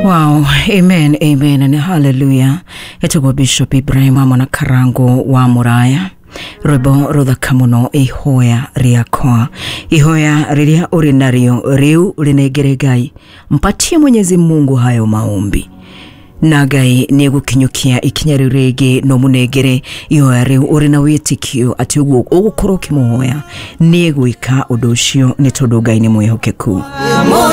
Wow, amen, amen and hallelujah. Etagwo Bishop Ibrahim hamwe na Karango wa Muraya. Rwĩmbo rũthaka mũno, ihoya rĩakwa, ihoya rĩrĩa ũrĩ narĩo rĩu rĩnengere Ngai, mpatie Mwenyezi Mungu hayo maombi na Ngai nĩ egũkinyũkia ikinya rĩu rĩngĩ. No mũnengere ihoya rĩu ũrĩ na wĩtĩkio atĩ ũguo ũgũkorwo ũkĩmũhoya nĩ egwĩka ũndũ ũcio, nĩ tondũ Ngai nĩ mwĩhokeku.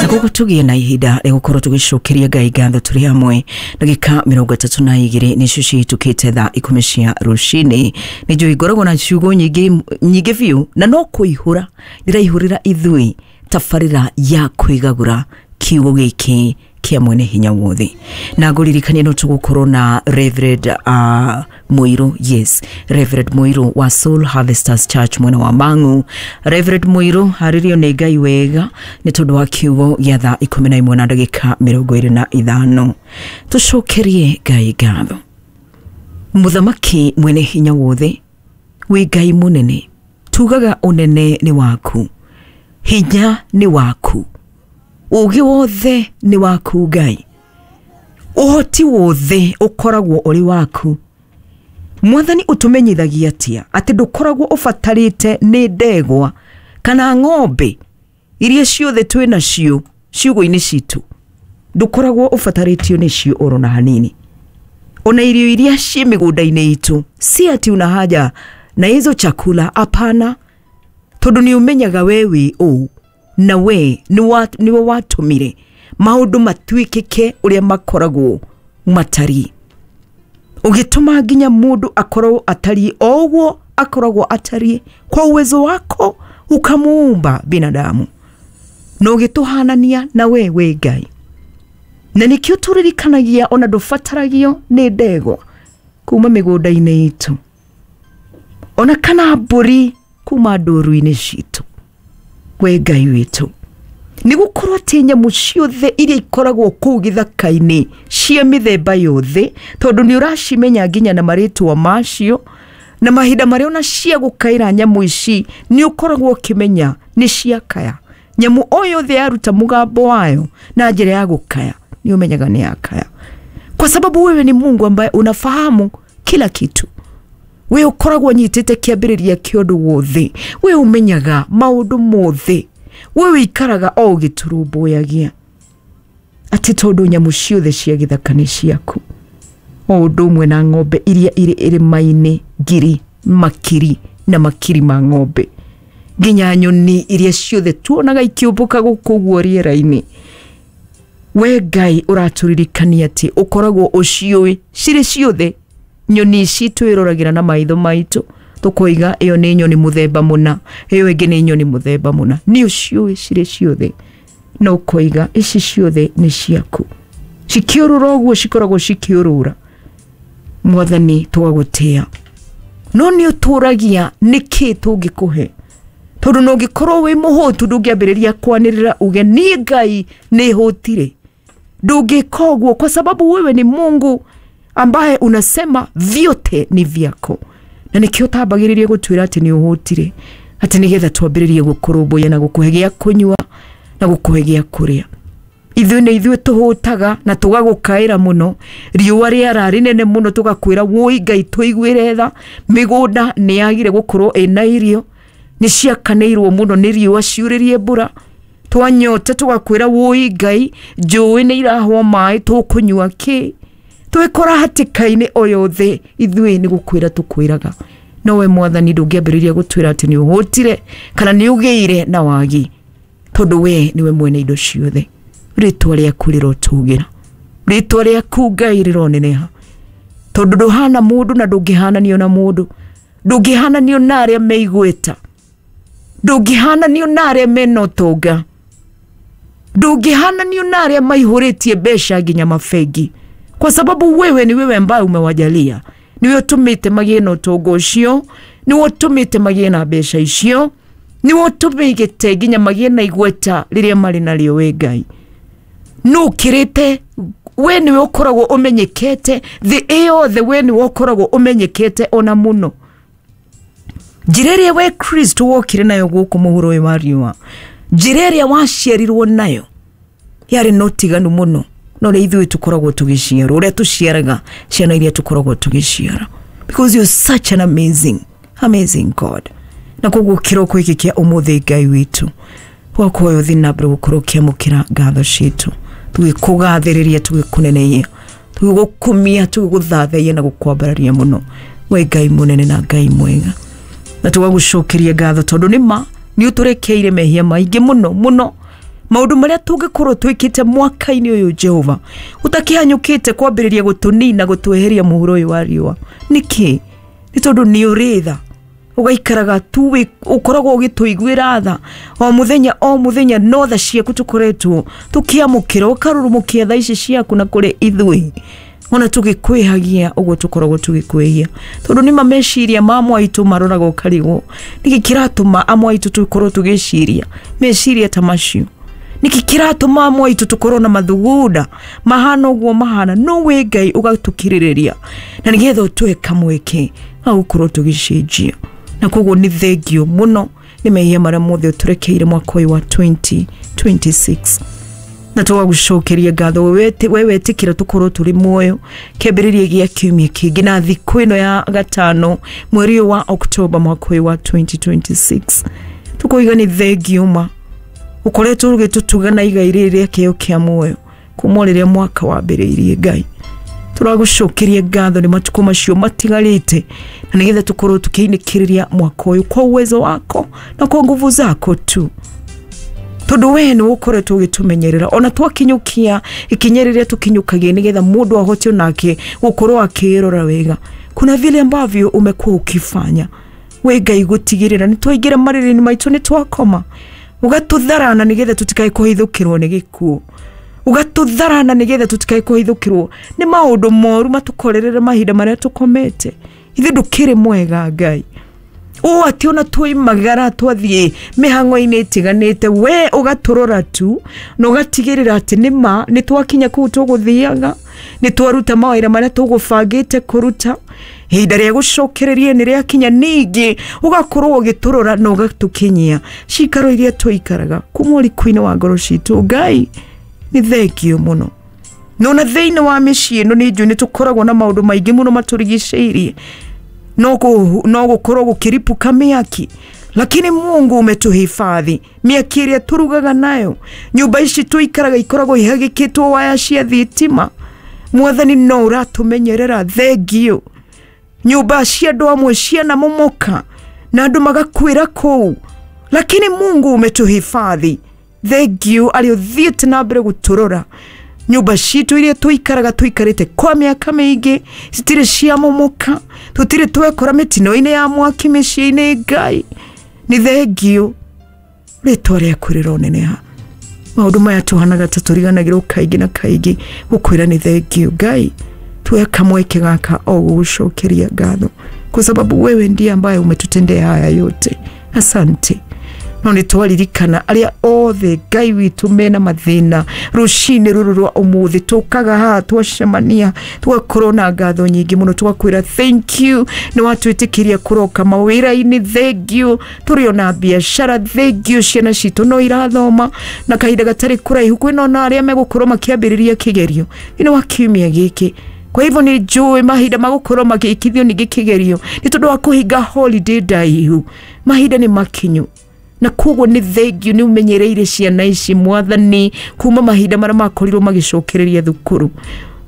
Na koguo tũgĩe na ihinda rĩa gũkorwo tũgĩcokeria Ngai ngatho tũrĩ hamwe. Ndagĩka 32 nĩcio cihĩtũkĩte thaa 10 cia rũcinĩ. Nĩ njũĩ ngoragwo na ciugo nyingĩ nyingĩ biũ, na no kũihũra ndĩraihũrĩra ithuĩ tabarĩra ya kwĩgagũra kiugo gĩkĩ kĩa Mwene Hinya Wothe. Na ngũririkanie no tũgũkorwo na Reverend Mũirũ, yes, Reverend Mũirũ wa Soul Harvesters Church mwena wa Mang'u. Reverend Mũirũ harĩrio nĩ Ngai wega nĩ tondũ wa kiugo gĩa thaa 11 na ndagĩka 25. Tũcokerie Ngai ngatho. Mũthamaki Mwene Hinya Wothe, wĩ Ngai mũnene, tugaga ũnene nĩ waku, hinya nĩ waku, ũgĩ wothe nĩ waku Ngai, ũhoti wothe ũkoragwo ũrĩ waku. Mwathani, ũtũmenyithagia atĩa atĩ ndũkoragwo ũbatarĩte nĩ ndegwa kana ng'ombe iria ciothe twĩ nacio ciugũ-inĩ citũ? Ndũkoragwo ũbatarĩtio nĩcio oro na hanini, ona irio iria ciĩ mĩgũnda-inĩ itũ, si ati una haja na hizo chakula, hapana, tondũ nĩ ũmenyaga we wĩ ũũ na we nĩwe watũmire maũndũ matuĩkĩke ũrĩa makoragwo matariĩ, ũgĩtũma nginya mũndũ akorwo atariĩ o ũguo akoragwo atariĩ. Kwa uwezo wako ukamuumba binadamu na ũgĩtũhanania na we wĩ Ngai, na nĩkĩo tũririkanagia ona ndũbataragio nĩ ndegwa kuma mĩgũnda-inĩ itũ, ona kana mbũri kuma ndũru-inĩ citũ, we Ngai witũ, nĩ gũkorwo atĩ nyamũ ciothe iria ikoragwo kũu gĩthaka-inĩ cia mĩthemba yothe, tondũ nĩ ũracimenya nginya na marĩtwa macio na mahinda marĩa ona cia gũkaĩra nyamũ ici, nĩ ũkoragwo ũkĩmenya nĩ ciakaya. Nyamũ o yothe yaruta mũgambo wayo na njĩra ya gũkaya, nĩ ũmenyaga nĩ yakaya, kwa sababu wewe ni Mungu ambaye unafahamu kila kitu. We ũkoragwo nyitĩte kĩambĩrĩria kĩa ũndũ wothe, we ũmenyaga maũndũ mothe, we wĩikaraga o ũgĩtũrũmbũyagia, atĩ tondũ nyamũ ciothe cia gĩthaka nĩ ciaku, o ũndũ ũmwe na ng'ombe iria irĩ irĩma-inĩ, ngiri makiri na makiri ma ng'ombe, nginya nyoni iria ciothe tuonaga ikĩũmbũka gũkũ ũguo rĩera-inĩ. We Ngai ũratũririkania atĩ ũkoragwo ũciũĩ cirĩ ciothe. Nyoni ici twĩroragĩra na maitho maitũ tũkoiga ĩyo nĩ nyoni mũthemba mũna, ĩyo ĩngĩ nĩ nyoni mũthemba mũna, nĩ ũciũĩ cirĩ ciothe na ũkoiga ici ciothe nĩ ciaku. Cikĩũrũra ũguo cikoragwo cikĩũrũra, Mwathani, tũgagũtĩa. No nĩ ũtũragia nĩkĩ tũngĩkũhe, tondũ no ũngĩkorwo wĩ mũhũtu ndũngĩambĩrĩria kwanĩrĩra uge niĩ Ngai nĩ hũtire. Ndũngĩka ũguo, kwa sababu wewe ni Mungu ambaye unasema vyote ni vyako, na nĩkĩo ũtambagĩrĩria gũtwĩra atĩ nĩ ũhũtire, atĩ nĩgetha twambĩrĩrie gũkũrũmbũiya na gũkũhe gĩa kũnyua na gũkũhe gĩa kũrĩa. Ithuĩ nĩ ithuĩ tũhũtaga na tũgagũkaĩra mũno, riũa rĩara rĩnene mũno tũgakwĩra wũi Ngai tũiguĩre tha, mĩgũnda nĩ yagire gũkorwo ĩna irio, nĩ ciakanĩirwo mũno nĩ riũa, ciurĩrie mbura. Twanyota tũgakwĩra wũi Ngai, njũĩ nĩ irahwo maĩ, tũkũnyua kĩ? Twĩkora hatĩka-inĩ o yothe, ithuĩ nĩ gũkwĩra tũkwĩraga, no we Mwathani ndũngĩambĩrĩria gũtwĩra atĩ nĩ ũhũtire kana nĩ ũgĩire na wagi, tondũ we nĩwe mwene indo ciothe. Rĩtwa rĩaku rĩrotũgĩra, rĩtwa rĩaku Ngai rĩroneneha, tondũ ndũhana mũndũ na ndũngĩhananio na mũndũ, ndũngĩhananio na arĩa me igweta, ndũngĩhananio na arĩa mena ũtonga, ndũngĩhananio na arĩa maihũrĩtie mbeca nginya mabengi, kwa sababu wewe ni wewe ambaye umewajalia, niwe ũtũmĩte magĩe na ũtonga ũcio, niwe ũtũmĩte magĩe na mbeca icio, niwe ũtũmĩte nginya magĩe na igweta rĩrĩa marĩ narĩo. We Ngai nũ ũkĩrĩte, we niwe ũkoragwo ũmenyekete thĩ ĩyothe, we niwe ũkoragwo ũmenyekete ona mũno. Njĩra ĩrĩa we Kristo wokire nayo gũkũ mũhuro ũyũ wa riũa, njĩra ĩrĩa waciarirwo nayo yarĩ na ũtiganu mũno. na ũrĩa ithuĩ tũkoragwo tũgĩciarwo, ũrĩa tũciaraga ciana iria tũkoragwo tũgĩciara, because you're such an amazing amazing God. Na koguo kĩroko gĩkĩ kĩa ũmũthĩ, Ngai witũ, twakuoya ũthiĩ na mbere gũkorwo ũkĩamũkĩra ngatho citũ, tũgĩkũgathĩrĩria, tũgĩkũneneia, tũgĩgũkumia, tũgĩgũthathaia na gũkwambararia mũno, we Ngai mũnene na Ngai mwega. Na tũgagũcokeria ngatho tondũ nĩ ma nĩ ũtũrekeire mehia maingĩ mũno mũno, maũndũ marĩa tũngĩkorwo twĩkĩte mwaka-inĩ ũyũ, Jehova, ũtakĩhanyũkĩte kwambĩrĩria gũtũnina, gũtweheria mũhuro ũyũ wa riũa. Nĩkĩ? Nĩ tondũ nĩ ũrĩ tha, ũgaikaraga tu ũkoragwo ũgĩtũiguĩra tha o mũthenya o mũthenya. No tha ciaku tũkoretwo tũkĩamũkĩra, ũkarurumũkia tha ici ciaku na kũrĩ ithuĩ, ona tũgĩkwĩhagia ũguo tũkoragwo tũgĩkwĩhia, tondũ nĩma meciria ma amwe aitũ maroraga ũkarigwo nĩkĩ kĩratũma amwe aitũ tũkorwo tũgĩciria meciria ta macio, nĩkĩ kĩratũma amwe aitũ tũkorwo na mathugunda mahana ũguo mahana. No wĩ Ngai ũgatũkirĩrĩria na nĩgetha ũtũhe kamweke ga gũkorwo tũgĩcenjia. Na koguo nĩ thengio mũno nĩ mehia marĩa mothe ũtũrekeire mwaka ũyũ wa 2026, na tũgagũcokeria ngatho we wetĩkĩra tũkorwo tũrĩ muoyo kĩambĩrĩria gĩa kiumia kĩngĩ na thikũ ĩno ya gatano, mweri ũyũ wa Oktoba, mwaka ũyũ wa 2026. Tũkoiga nĩ thengio ma ũkoretwo ũgĩtũtuga na igai rĩrĩ rĩa kĩheo kĩa muoyo kuma o rĩrĩa mwaka wambĩrĩirie. Ngai, tũragũcokeria ngatho nĩ matukũ macio matigarĩte na nĩgetha tũkorwo tũkĩinĩkĩrĩria mwaka ũyũ kwa uwezo wako na kwa nguvu zako tu, tondũ we nĩ ũkoretwo ũgĩtũmenyerera ona twakinyũkia ikinya rĩrĩa tũkinyũkagia nĩgetha mũndũ ahote onake gũkorwo akĩrora wega. Kuna vile ambavyo umekuwa ukifanya we Ngai gũtigĩrĩra nĩ twaingĩra marĩrĩ-inĩ maitũ, nĩ twakoma, ũgatũtharana nĩgetha tũtikae kũhithũkĩrwo nĩ gĩkuũ, ũgatũtharana nĩgetha tũtikae kũhithũkĩrwo nĩ maũndũ moru matũkorerere mahinda marĩa tũkomete. Ithe ndũkĩrĩ mwega, Ngai, ũũ atĩ ona twoimagara twathiĩ mĩhang'o-inĩ ĩtiganĩte, we ũgatũrora tu na ũgatigĩrĩra atĩ nĩ ma nĩ twakinya kũu tũgũthiaga, nĩ twaruta mawĩra marĩa tũgũbangĩte kũruta, ihinda rĩa gũcokereria nĩ rĩakinya, ningĩ ũgakorwo ũgĩtũrora na ũgatũkinyia cikaro iria tũikaraga kuma ũriku-inĩ wa ngoro citũ. Ngai, nĩ thengio mũno. Nona thĩinĩ wa mĩciĩ ĩno nĩ njũĩ nĩ tũkoragwo na maũndũ maingĩ mũno matũrigicĩirie, no gũkorwo gũkĩripuka mĩaki, lakini Mungu umetuhifadhi. Mĩaki ĩrĩa tũrugaga nayo, nyũmba ici tũikaraga ikoragwo ihagĩkĩtwo waya cia thitima. Mwathani, no ũratũmenyerera, thengio. Nyũmba cia andũ amwe cianamomoka na andũ magakuĩra kũu, lakini Mungu umetuhifadhi, thengio, arĩa ũthiĩte na mbere gũtũrora. Nyũmba citũ iria tũikaraga, tũikarĩte kwa mĩaka mĩingĩ, citirĩ ciamomoka, tũtirĩ twekora mĩtino-inĩ ya mwaki mĩciĩ-inĩ. Ngai, nĩ thengio, rĩtwa rĩaku rĩroneneha. Maũndũ maya tũhanaga ta tũriganagĩrwo kaingĩ na kaingĩ gũkwĩra nĩ thengio. Ngai, tuwe kamweke gaka o gũgũcokeria ngatho kwa sababu wewe ndiye ambaye umetutendea haya yote, asante. No nĩ twaririkana arĩa othe, Ngai witũ, mena mathĩna rũcinĩ rũrũ rwa ũmũthĩ. Tũkaga haha, twacemania, tũgakorwo na ngatho nyingĩ mũno, tũgakwĩra thank you nĩ watwĩtĩkĩria kũroka mawĩra-inĩ, thank you tũrĩ ona biacara, thank you ciana citũ no irathoma, na kahinda gatarĩ kũraihu kwĩna ona arĩa megũkorwo makĩambĩrĩria kĩgerio thĩinĩ wa kiumia gĩkĩ. Kwa hivyo nĩ njũĩ mahinda magũkorwo magĩkithio ningĩ kĩgerio nĩ tondũ wa kũhinga holiday ndaihu, mahinda nĩ makinyu. Na koguo nĩ thengio nĩ ũmenyereire ciana ici, Mwathani, kuma mahinda marĩa makorirwo magĩcokereria thukuru.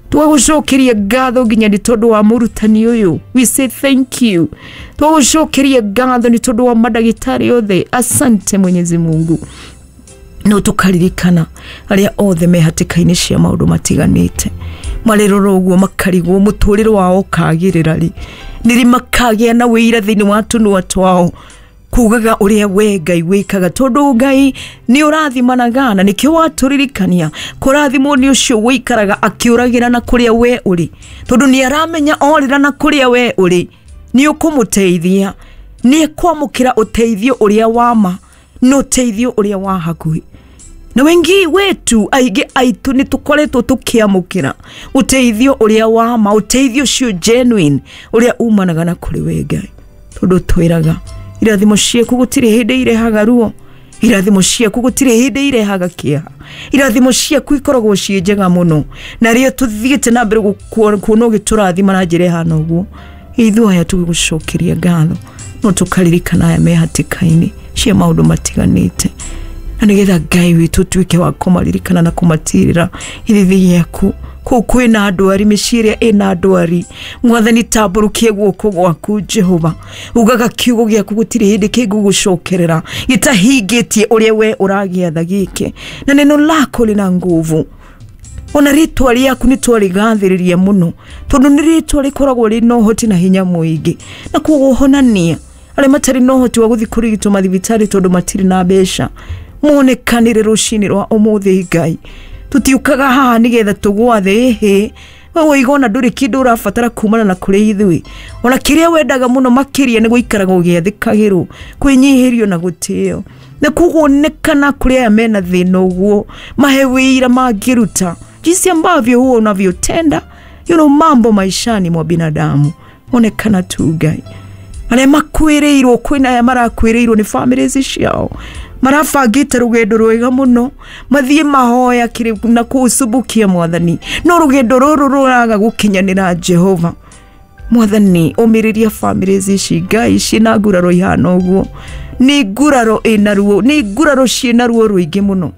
Twagũcokeria ngatho nginya nĩ tondũ wa mũrutani ũyũ, we say thank you. Twagũcokeria ngatho nĩ tondũ wa mandagĩtarĩ othe, asante Mwenyezi Mungu. No tũkaririkana arĩa othe me hatĩka-inĩ cia maũndũ matiganĩte, marĩrora ũguo makarigwo mũtũrĩre wao ũkagĩrĩra rĩ, nĩrĩ makagĩa na wĩira thĩinĩ wa tũnua twao kugaga ũrĩa we Ngai wĩkaga, tondũ Ngai nĩ ũrathimanaga na nĩkĩo watũririkania kũrathimwo nĩ ũcio wĩikaraga akĩũragĩra na kũrĩa we ũrĩ, tondũ nĩ aramenya orĩra na kũrĩa we ũrĩ nĩ ũkũmũteithia, nĩ ekwamũkĩra ũteithio ũrĩa wa ma na ũteithio ũrĩa wa hakuhĩ. Na wengi wetu, aingĩ aitũ, nĩ tũkoretwo tũkĩamũkĩra ũteithio ũrĩa wa ma, ũteithio ũcio genuine ũrĩa umanaga na kũrĩ we Ngai, tondũ twĩraga irathimo ciaku gũtirĩ hĩndĩ irehaga ruo. Irathimo ciaku gũtirĩ hĩndĩ irehaga kĩeha. Irathimo ciaku ikoragwo ciĩ njega mũno, na rĩo tũthiĩte na mbere kuona ũgĩtũrathima na njĩra ĩhana ũguo. Ithuĩ aya tũgĩgũcokeria ngatho, no tũkaririkana aya me hatĩka-inĩ cia maũndũ matiganĩte, na nĩgetha Ngai witũ ũtuĩke wa kũmaririkana na kũmatirĩra ithithi gĩaku. Kũu kwĩna ndwari, mĩciĩ ĩrĩa ĩna ndwari, Mwathani tambũrũkie guoko gwaku Jehova. Ugaga kiugo gĩaku gũtirĩ hĩndĩ kĩngũgũcokerera gĩtahingĩtie ũrĩa we ũragĩatha gĩke, na neno lako lina nguvu. Ona rĩtwa rĩaku nĩ twarĩgathĩrĩria mũno, tondũ nĩ rĩtwa rĩkoragwo rĩna ũhoti na hinya mũingĩ. Na koguo honania arĩa matarĩ na ũhoti wa gũthiĩ kũrigitwo mathibitarĩ tondũ matirĩ na mbeca, monekanĩre rũcinĩ rwa ũmũthĩ. Ngai, tũtiũkaga haha nĩgetha tũgwathe ĩhĩ we woiga ona ndũrĩ kĩndũ ũrabatara kumana na kũrĩ ithuĩ. Ona kĩrĩa wendaga mũno makĩria nĩ gũikaraga ũgĩathĩkagĩrwo, kwĩnyihĩrio na gũtĩo. Na koguo onekana kũrĩ aya mena thĩna ũguo, mahe wĩira mangĩruta jinsi ambavyo huwa unavyotenda mambo maishani mwa binadamu. Onekana tu Ngai. Arĩa makuĩrĩirwo, kwĩna aya marakuĩrĩirwo nĩ families ciao, marabangĩte rũgendo rwega mũno mathiĩ mahoya kĩrĩ na kũũcumbukia Mwathani, no rũgendo rũrũ rũraga gũkinyanĩra. Jehova Mwathani, ũmĩrĩria families ici Ngai ciĩna nguraro ihana ũguo. Nĩ nguraro ĩna ruo, nĩ nguraro ciĩna ruo rũingĩ mũno.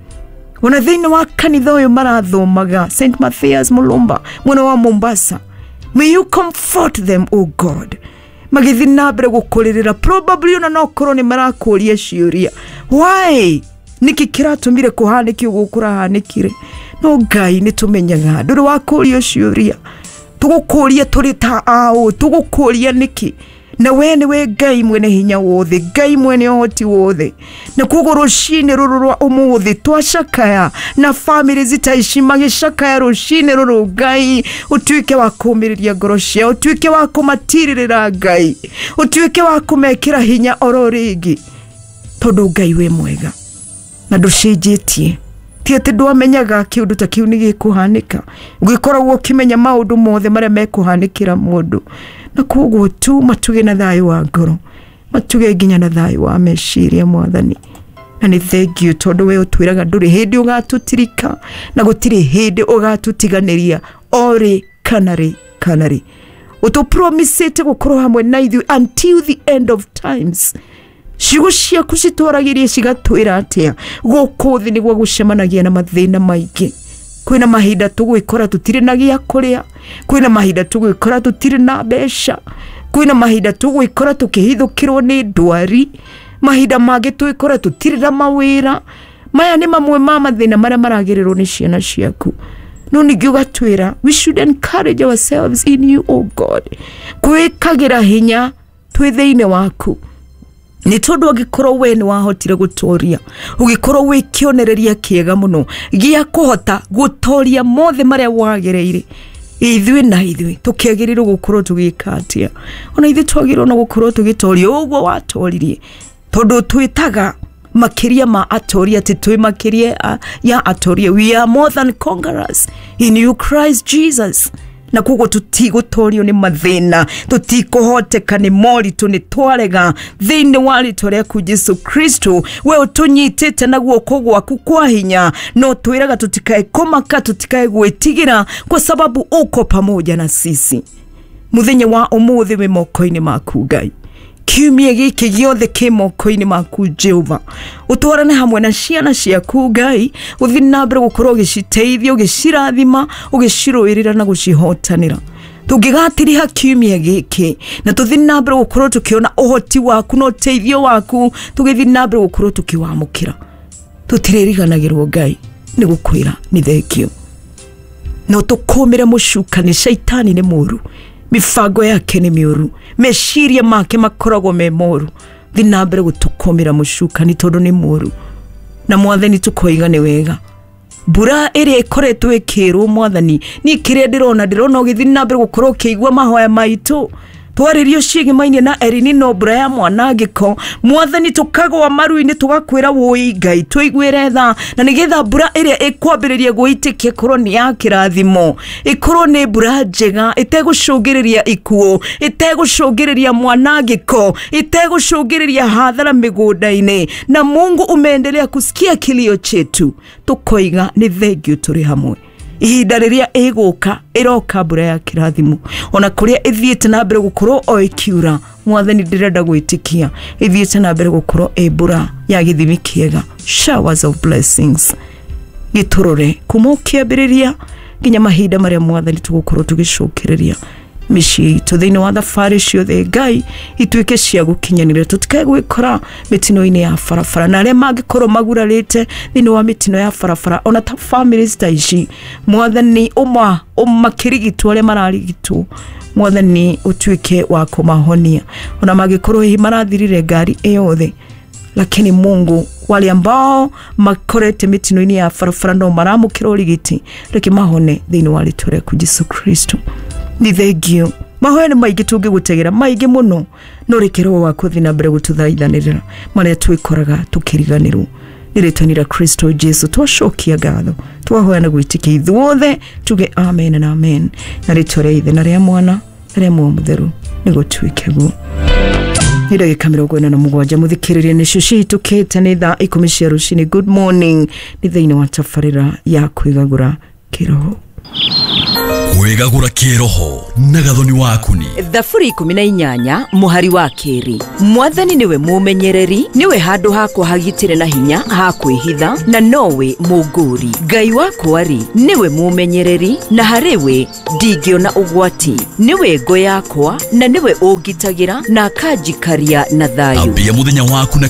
Ona thĩinĩ wa kanitha ũyũ marathomaga St Mathias Mulumba mwena wa Mombasa, may you comfort them, O God, magĩthiĩ na mbere gũkũrĩrĩra. Probably ona no korwo nĩ marakũria ciũria, why, nĩkĩ kĩratũmire kũhanĩke ũguo kũrahanĩkire? No Ngai, nĩ tũmenyaga ndũrĩ wakũrio ciũria. Tũgũkũria tũrĩ ta aũ? Tũgũkũria nĩkĩ? Na we nĩwe Ngai mwene hinya wothe, Ngai mwene ũhoti wothe. Na koguo rũcinĩ rũrũ rwa ũmũthĩ twacakaya na famĩlĩ ta ici magĩcakaya rũcinĩ rũrũ, Ngai ũtuĩke wa kũũmĩrĩria ngoro ciao, ũtuĩke wa kũmatirĩrĩra Ngai, ũtuĩke wa kũmekĩra hinya oro rĩngĩ, tondũ Ngai wĩ mwega na ndũcenjetie. Ti atĩ ndwamenyaga kĩũndũ ta kĩu nĩ gĩkũhanĩka, ũgĩkoragwo ũkĩmenya maũndũ mothe marĩa mekũhanĩkĩra mũndũ. Na koguo tu matuge na thayũ wa ngoro, matuge nginya na thayũ wa meciria, Mwathani. Na nĩ thengiũ tondũ we ũtwĩraga ndũrĩ hĩndĩ ũgatũtirika na gũtirĩ hĩndĩ ũgatũtiganĩria, orĩ kana rĩ kana rĩ. Ũtũpromisĩte gũkorwo hamwe na ithuĩ until the end of times. Ciugo ciaku citwaragĩrie cigatwĩra atĩa? Gũkũ thĩ nĩguo gũcemanagia na mathĩna maingĩ. Kwĩna mahinda tũgwĩkora tũtirĩ na gĩa kũrĩa, kwĩna mahinda tũgwĩkora tũtirĩ na mbeca, kwĩna mahinda tũgwĩkora tũkĩhithũkĩrwo nĩ ndwari, mahinda mangĩ twĩkora tũtirĩ na mawĩra. Maya nĩ mamwe ma mathĩna marĩa maragererwo nĩ ciana ciaku. No ningĩ ũgatwĩra we should encourage ourselves in you, O God, kwĩkagĩra hinya twĩ thĩinĩ waku, nĩ tondũ angĩkorwo we nĩ wahotire gũtoria, ũgĩkorwo wĩ kĩonereria kĩega mũno gĩa kũhota gũtoria mothe marĩa wagereire, ithuĩ na ithuĩ tũkĩagĩrĩirwo gũkorwo tũgĩka atĩa? Ona ithuĩ twagĩrĩirwo no gũkorwo tũgĩtoria ũguo watoririe, tondũ twĩtaga makĩria ma atoria, atĩ twĩ makĩria ya atoria. We are more than conquerors in you Christ Jesus. Na koguo tũtigũtorio nĩ mathĩna, tũtikũhoteka nĩ moritũ, nĩ twarega thĩinĩ wa rĩtwa rĩaku Jesu Kristo. We ũtũnyitĩte na guoko gwaku kwa hinya, no twĩraga tũtikae kũmaka, tũtikae gwĩtigĩra, kwa sababu uko pamoja na sisi. Mũthenya wa ũmũthĩ wĩ moko-inĩ maku Ngai. Kiumia gĩkĩ gĩothe kĩ moko-inĩ maku Jehova. Ũtwarane hamwe na ciana ciaku Ngai, ũthiĩ na mbere gũkorwo ũgĩciteithia, ũgĩcirathima, ũgĩcirũĩrĩra na gũcihotanĩra. Tũngĩgatiriha kiumia gĩkĩ na tũthiĩ na mbere gũkorwo tũkĩona ũhoti waku na ũteithio waku, tũgĩthiĩ na mbere gũkorwo tũkĩwamũkĩra, tũtirĩriganagĩrwo Ngai nĩ gũkwĩra nĩ thengio. No tũkũmĩre mũcukani, shaitani nĩ mũru, mibango yake nĩ mĩũru, meciria make makoragwo me moru. Thiĩ na mbere gũtũkũmĩra mũcukani tondũ nĩ mũru. Na Mwathani, tũkoiga nĩ wega mbura ĩrĩa ĩkoretwo ĩkĩrwo. Mwathani, niĩ kĩrĩa ndĩrona, ndĩrona ũgĩthiĩ na mbere gũkorwo ũkĩigua mahoya maitũ. Twaririo ciĩgĩmainie na Elinino mbura ya mwanangĩko. Mwathani tũkagwa maru-inĩ tũgakwĩra wũi Ngai tũiguĩre tha, na nĩgetha mbura ĩrĩa ĩkwambĩrĩria gwĩtĩkia ĩkorwo nĩ ya kĩrathimo, ĩkorwo nĩ mbura njega ĩtegũcũngĩrĩria ikuũ, ĩtegũcũngĩrĩria mwanangĩko, ĩtegũcũngĩrĩria hathara mĩgũnda-inĩ. Na Mungu umeendelea kusikia kilio chetu, tũkoiga nĩ thengiũ tũrĩ hamwe. Ihinda rĩrĩa ĩgũka ĩroka mbura ya kĩrathimo, ona kũrĩa ĩthiĩte na mbere gũkorwo o ĩkiura, Mwathani ndĩrenda gwĩtĩkia ĩthiĩte na mbere gũkorwo ĩ mbura ya gĩthimi kĩega, showers of blessings. Gĩtũrore kuma ũkĩambĩrĩria nginya mahinda marĩa Mwathani tũgũkorwo tũgĩcokereria mĩciĩ itũ thĩinĩ wa thabarĩ ciothe. Ngai ituĩke cia gũkinyanĩra, tũtikae gwĩkora mĩtino-inĩ ya barabara, na arĩa mangĩkorwo magurarĩte thĩinĩ wa mĩtino ya barabara ona ta families ta ici, Mwathani ũmakĩrigitwo arĩa mararigitwo, Mwathani ũtuĩke wa kũmahonia ona mangĩkorwo hihi marathirire ngari ĩyothe. Lakini Mungu, wale ambao makorete mĩtino-inĩ ya barabara no maramũkĩra ũrigiti, reke mahone thĩinĩ wa rĩtwa rĩaku Jesu Kristo. Nĩ thengio mahoya nĩ maingĩ tũngĩgũtegera maingĩ mũno, no reke roho waku ũthiĩ na mbere gũtũthaithanĩrĩra marĩa twĩkoraga tũkĩriganĩrwo. Nĩ rĩtwa rĩa Kristo Jesu twacokia ngatho, twahoya na gwĩtĩkia ithuothe tuge amen na amen, na rĩtwa rĩa Ithe na rĩa Mwana na rĩa Muoyo Mũtheru nĩgũtuĩke guo. Nĩ ndagĩka 47 mũthikĩrĩria nĩcio cihĩtũkĩte nĩ thaa 10 cia rũcinĩ. Good morning, nĩ thĩinĩ wa tabarĩra ya kwĩgagũra kĩroho. Kwĩgagũra kĩroho na Gathoni waku ni Thaburi 18 mũhari wa 2. Mwathani nĩwe mũmenyereri, nĩwe handũ hakwa hagitĩre na hinya ha kwĩhitha, na nowe mũngũri. Ngai wakwa rĩ, nĩwe mũmenyereri, na harĩ we ndingĩona ũgwati. Nĩwe ngo yakwa, na nĩwe ũngitagĩra na akanjikaria na thayũ. Ambia mũthenya waku na